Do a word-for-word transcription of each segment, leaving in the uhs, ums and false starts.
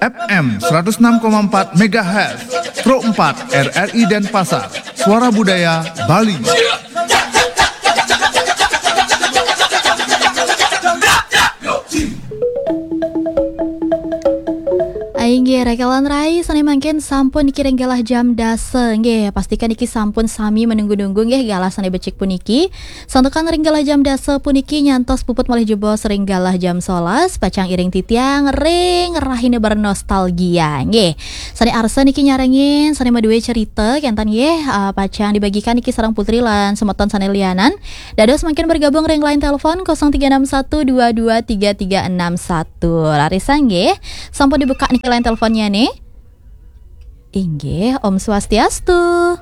F M seratus enam koma empat megahertz, Pro empat R R I Denpasar, Suara Budaya Bali. Inggih, rakalan rai, sané mangkin sampun niki ring galah jam dasa. Inggih, pastikan niki sampun sami menunggu-nunggu nggih galah sané becik puniki. Santukan ring galah jam dasa puniki nyantos puput malih jebos ring galah jam solas, pacang iring titiang ring rahina bernostalgia. Nggih. Sané arsa niki nyarengin, sané madué cerita, kénten nggih, ah, pacang dibagikan niki sareng Putri lan semeton sané lianan. Dados mangkin bergabung ring line telepon kosong tiga enam satu dua dua tiga tiga enam satu. Larisa nggih, sampun dibuka niki line teleponnya nih. Inggih, Om Swastiastu.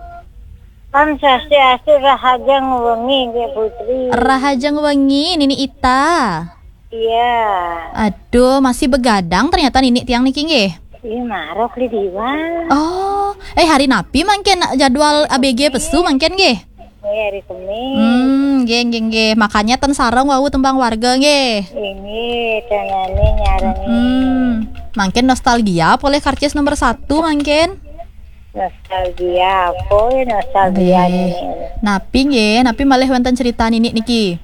Om Swastiastu, rahajeng wengi, Nggih Putri. Rahajeng wengi, Nini Ita. Iya. Aduh, masih begadang ternyata Nini tiang niki nggih. Ih, marok di diwan. Oh, eh, hari napi mangkin jadwal A B G pesu mangkin nggih? Iya, hari Kemis. Hmm, nggih, nggih, nggih. Makanya ten sareng wau tembang warga nggih. Ini tengahnya nyarengin. Hmm, mangkin nostalgia polih karcis nomor satu mangkin. Nostalgia apa ya, nostalgia Nggih. Ini? Napi nggih, napi malih wénten cerita Nini niki?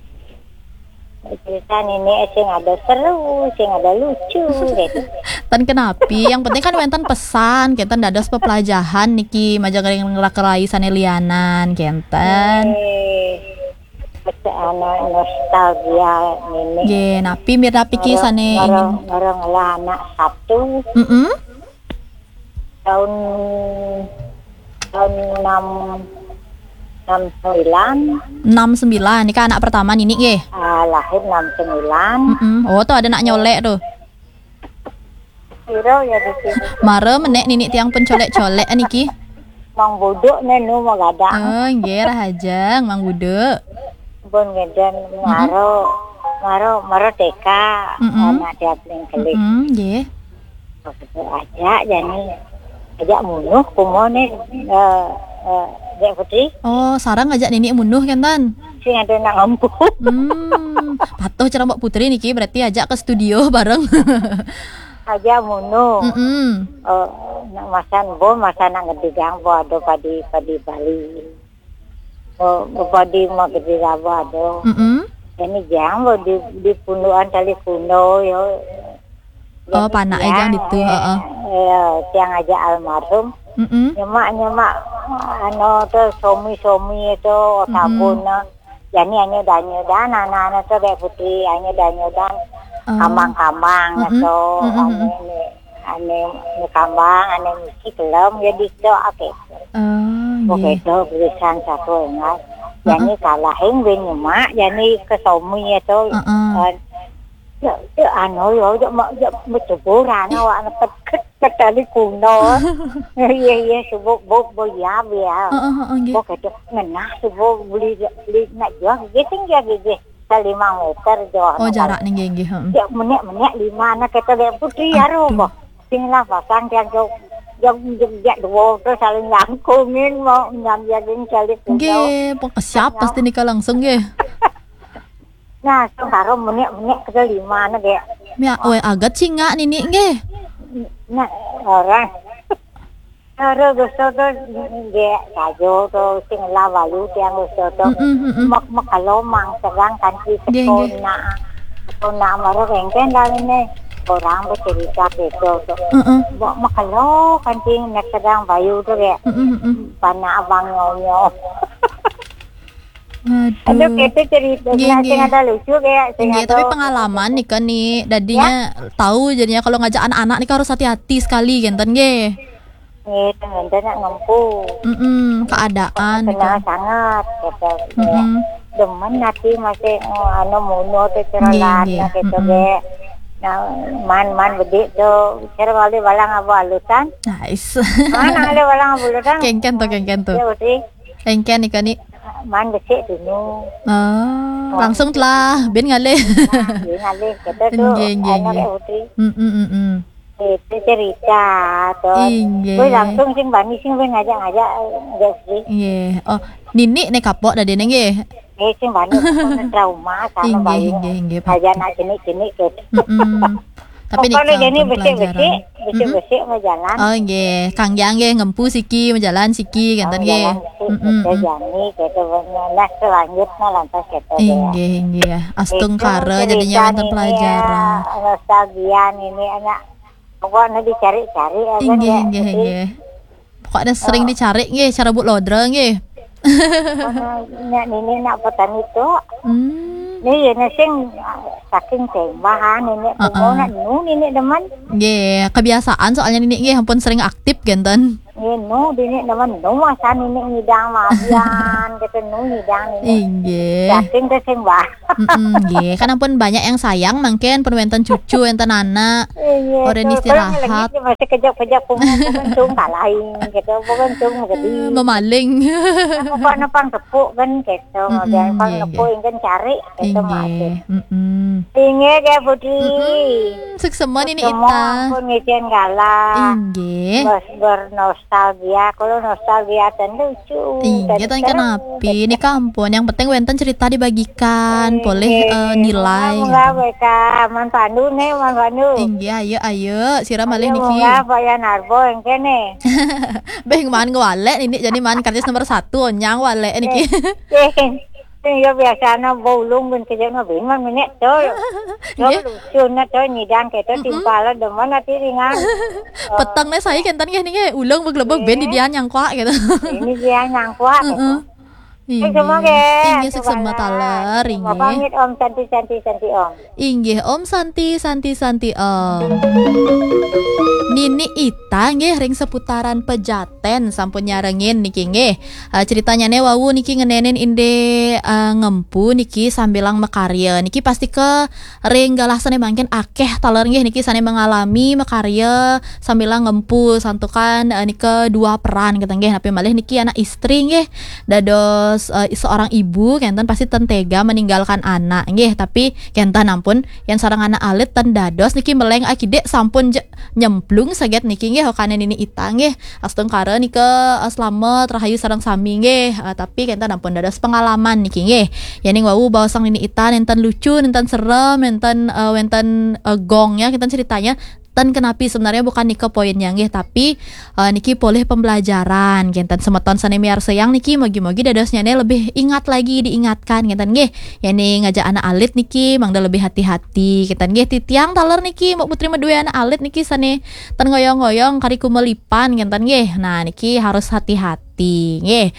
Cerita Nini sing ada seru, sing ada lucu gitu. Ten kenapi, yang penting kan wénten pesan, kénten dados pepelajahan niki majeng ring rakalan rai sané lianan, kénten. Eh, anu, nostalgia Nini. Nggih, napi mirip niki Ngorong, sané ngorong, ingin ngorong lah anak satu. Mm-mm. Tahun, tahun enam, enam sembilan. Enam sembilan, nika anak pertama Nini nggih? Ah, lahir enam sembilan. Mm-mm. Oh, tuh ada nak nyolek tuh. Piro ya di sini? Mara menek Nini tiang pun colek-colek niki. Mang Buduk né nu magadang. Oh, nggih, rahajeng, Mang Buduk. Pun ngeden Mm-mm. maro, maro, maro T K, Mm-mm. anak dia paling kelik. Mm-mm, nggih. Ajak jani, ajak munuh kumo né, eh, eh, Dek Putri. Oh, sareng ajak Nini munuh kénten? Sing ada nak ngempu. Hmm, patuh cara Mbak Putri niki berarti ajak ke studio bareng. Ajak munuh. Mm-mm. Eh, nak masan bo, masan nak ngedigang bo ada padi, padi Bali. Bo, bo padi mau gede raba ada. Mm-mm. Ini jang bo di, di pundukan tali kuno yo. Oh, Jadi panak tiang, jang ditu, eh, heeh. eh, tiang aja almarhum. Mm-mm. Nyemak, nyemak, anu tu, somi-somi tu, Mm-mm. sabun tu. Jani anyo danyo dan, anak-anak tu Dek Putri, anyo danyo dan, Oh. kambang-kambang Mm-mm. tu, Mm-mm, anu mm-mm. ni, anu ni kambang, anu misi kelem, jadi tu, oke. Oh, Oke, nggih. tu, tulisan satu ingat. Heeh. Jani kalahin bin nyemak, jani ke somi tu. Heeh. Eh, ya, ya, anu, ya, ya, ma-, ya, bercuburan, awak nak pet-, pet-, petani kuno. Iya, iya, sebut, bu, bu, ya, ya. Heeh, heeh, nggih. Bu, kata, ngenah, sebut, beli, beli, nak jual, gigi tinggi, gigi. Selimang meter, jual. Oh, nak jarak nih, nggih, nggih, heeh. Ya, menek, menek, lima, anak kata Dek Putri, ya, Aduh. roh, bu. Sing lah, pasang, dia, dia, dia, dia, dua, terus saling langkungin, mau nyambiakin calik kuno. Nggih, pokok siap pasti nikah langsung, nggih. Nah, sing karo menek-menek ke lima ne, Dek. Mia, weh, agat singak Nini nggih. Nah, orang. Karo dosa tu, Dek, sajo tu, sing lah walu tiang dosa tu. Mm-mm, mm-mm. Mek, mek kalau mang sedang kanti Nggih, nggih. sekona. Sekona maro rengken dah ini. Orang bercerita gitu tu. Mm-mm. Mek, mek kalau kanti nak sedang bayu tu, Dek. Mm-mm, mm-mm. Panak abang nyonyo. Aduh. Aduh, kita cerita Nggih, nggih. Sing ada lucu kayak sing Nggih, ada tapi pengalaman nih kan nih, dadinya Ya. tahu jadinya kalau ngajak anak-anak nih harus hati-hati sekali, genten nggih. Nggih, genten nak ngempu. Mm-mm, keadaan nih Kenal kan. sangat, gitu. Mm-mm. Demen hati masih, oh, anu muno tu Nggih, cerolan, nggih. gitu, Mm-mm. Dek. Nah, man, man bedik tu, cara balik balang abu alusan. Nice. Mana ada balang abu alusan? Kengken tu, kengken tu. Ya, uti. Engken nika ni. Man besik dulu. Ah, langsung telah bin ngalih. Bin ngalih, kata tu, Nggih, nggih, anak nggih. Putri. Mm, mm, mm, mm. Itu cerita tu. Inggih. Weh, langsung sing bani sing weh ngajak-ngajak, ngajak sih. Nggih. Oh, Nini ne kapok dah dia nggih. Eh, sing bani pokoknya trauma sama Inggih, bayi. inggih, inggih, Ngajak pasti. nak jenik-jenik tu. Mm-mm. Tapi Pokoknya nika jadi pun besik-besik. pelajaran. Besik-besik mau jalan. Oh, nggih. Kang Jang nggih ngempu siki, menjalan siki, ngenten nggih. Jalan sik, mm -mm. Jani gitu, bener. Nah, selanjutnya lantas gitu. Inggih, inggih. Astungkara jadinya wonten pelajaran. Nostalgia ini anak. Pokoknya dicari-cari aja. Inggih, inggih, inggih. Pokoknya sering dicari nggih, cara Bu Lodra nggih. Nya nini nak petani tu. Hmm. Ni ya sing saking tembahan nini nak nu nini demen. Nggih, kebiasaan soalnya nini nggih ampun sering aktif genten. Nggih, nu nini demen nu masa nini ngidang mabian gitu nu ngidang nini. Inggih. Saking ke sing bah. Mm-mm, nggih. Kan ampun banyak yang sayang mangkin pun wenten cucu, wenten anak. Inggih. Orang istirahat. Masih kejap-kejap pun cung kalahin gitu, pun cung jadi. Memaling. Pokoknya pang tepuk kan gitu, kemudian pang tepuk kan cari gitu masih. Inggih. Inggih ya Budi. Suksema nini Ita. Ampun ngizin galah. Inggih. Bos bernostalgia, kalau nostalgia ten lucu. Inggih, ten kenapi. Ini kampung, yang penting wenten cerita dibagikan, boleh eh, nilai. Munggah, munggah, man pandu nih, man pandu. Inggih, ayo, ayo, sira malih niki. Munggah, Pak Yan Arbo yang kene. Beh, man ngewalek nini, jadi man karcis nomor satu, onyang walek niki. Sing ya biasanya baulung ben kejak no ben man menek tu. Yo lucu na tu nyidang kita timpal demen ati ringan. Peteng ne saya kenten nggih niki ulung beglebeg ben di dia nyangkuak gitu. Ini dia nyangkuak gitu. Inggih. Semua nggih. Inggih suksema taler inggih. Pamit Om Santi Santi Santi Om. Inggih Om Santi Santi Santi Om. Nini Ita nggih ring seputaran Pejaten sampun nyarengin niki nggih. Uh, ceritanyane wau niki ngenenin inde uh, ngempu niki sambilang makarya. Niki pasti ke ring galah sane mangkin akeh taler nggih niki sane mengalami makarya sambilang ngempu santukan uh, nika dua peran kita nggih. Napi malih niki anak istri nggih. Dados uh, seorang ibu kenten pasti ten tega meninggalkan anak nggih. Tapi kenten ampun yang sarang anak alit ten dados niki meleng akidik sampun je, nyemplung saget niki nggih hokane nini Ita nggih. Astungkara nika uh, selamat rahayu sareng sami nggih. Uh, tapi kenten ampun dados pengalaman niki nggih. Yaning wau baosang nini Ita nenten lucu, nenten serem, nenten uh, wenten uh, gongnya kenten ceritanya. Ten kenapi sebenarnya bukan nika poinnya nggih, tapi uh, niki polih pembelajaran kenten semeton sane miarsayang niki mogi-mogi dadosnyane lebih ingat lagi diingatkan kenten nggih. Yani ngajak anak alit niki mangda lebih hati-hati kenten nggih. Titiang taler niki Mbok Putri medue anak alit niki sane ten ngoyong-ngoyong kari kumelipan kenten nggih. Nah, niki harus hati-hati nggih.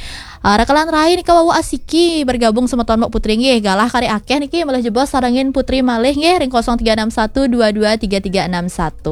Uh, rakalan rai nika wau asiki bergabung semeton Mbok Putri nggih. Galah kari akeh niki malah jebos sarengin Putri malih nggih ring kosong tiga enam satu dua dua tiga tiga enam satu.